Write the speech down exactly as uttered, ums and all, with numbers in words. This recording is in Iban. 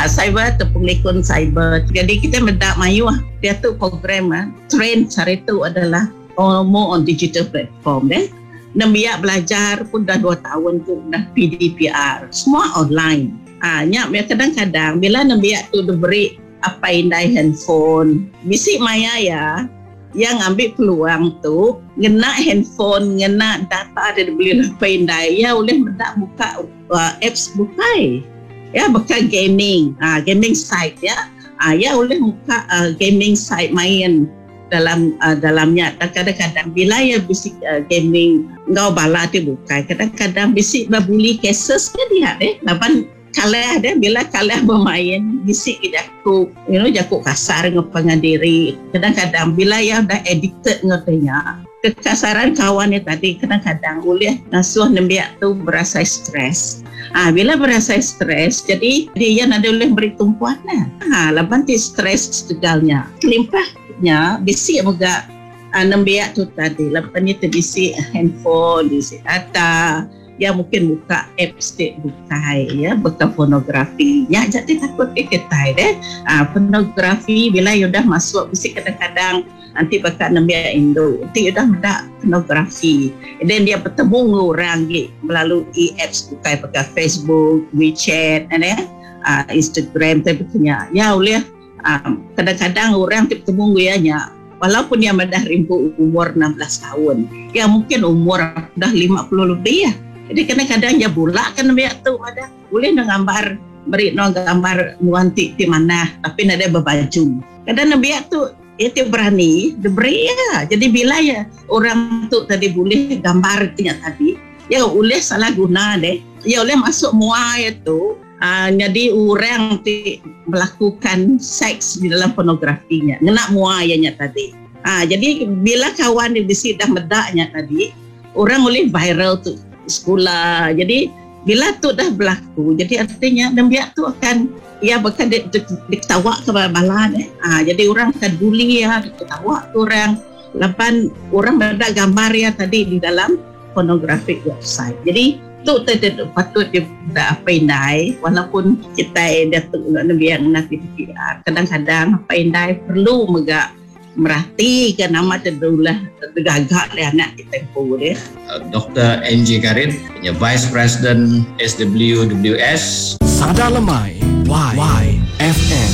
Ah, cyber tu pengelikun cyber. Jadi kita meda mayuh dia tu program ah, trend sehari tu adalah all more on digital platform deh. Nembiak belajar pun dah dua tahun tu dah P D P R. Semua online. Ah, nya kadang-kadang bila nembiak tu diberi apa indai handphone, bisi maya ya yang ambil peluang tu ngena handphone, ngena data dia beli apa indai ya boleh mendak buka uh, apps bukai ya, buka gaming, ah, gaming site ya. Ah, ya boleh buka uh, gaming site, main dalam uh, dalamnya. Dan kadang-kadang bila ya bisi uh, gaming ngau bala ti bukai, kadang-kadang bisi berbuli cases ke dia deh, laban kalah dia. Bila kalah bermain, bisi ke jaku you know jaku kasar dengan diri. Kadang-kadang bila ya dah addicted ngertinya kekasaran kawan ni tadi, kadang-kadang boleh ngasuh nembiak tu berasa stres. Ah, bila berasa stres, jadi dia ada boleh beri tumpuan lah. Ha, laban ti stres segalnya. Kelimpahnya bisi juga ah, nembiak tu tadi laban ni bisi handphone, bisi data ya, mungkin buka apps ti bukai ya, buka pornografi ya. Jadi takut ke kita deh, ah, pornografi bila you dah masuk bisi kadang-kadang nanti bakal nembiak Indo nanti you dah dah pornografi dan dia bertemu dengan orang gitu melalui apps bukai pakai Facebook, WeChat and ya, uh, Instagram tapi punya ya boleh. um, kadang-kadang orang ti bertemu ya nya, walaupun dia dah rimpu umur enam belas tahun ya, mungkin umur dah lima puluh lebih ya. Jadi kadang-kadang dia bulak kan biak tu ada boleh nak gambar, beri no gambar nuanti di mana tapi nak ada berbaju. Kadang biak tu dia tu berani dia beri ya. Jadi bila ya orang tu tadi boleh gambar nya tadi ya, boleh salah guna deh ya, boleh masuk mua itu. Uh, jadi orang ti melakukan seks di dalam pornografinya ngena mua nya tadi. Ah, jadi bila kawan di bisi dah medaknya tadi, orang boleh viral tu sekolah. Jadi bila tu dah berlaku, jadi artinya nembiak tu akan ya bahkan di, di, diketawa ke bala eh. Ah, jadi orang akan bully ya, diketawa tu orang. Lapan orang ada gambar ya tadi di dalam pornographic website. Jadi tu tu patut dia apa indai, walaupun kita dia tu nembiak nanti P D P R, kadang-kadang apa indai perlu megak merhati ke nama terdulah tergagak le anak kita pun dia. Doktor N J Karit, punya Vice President S W W S. Sada Lemai Y Y F M.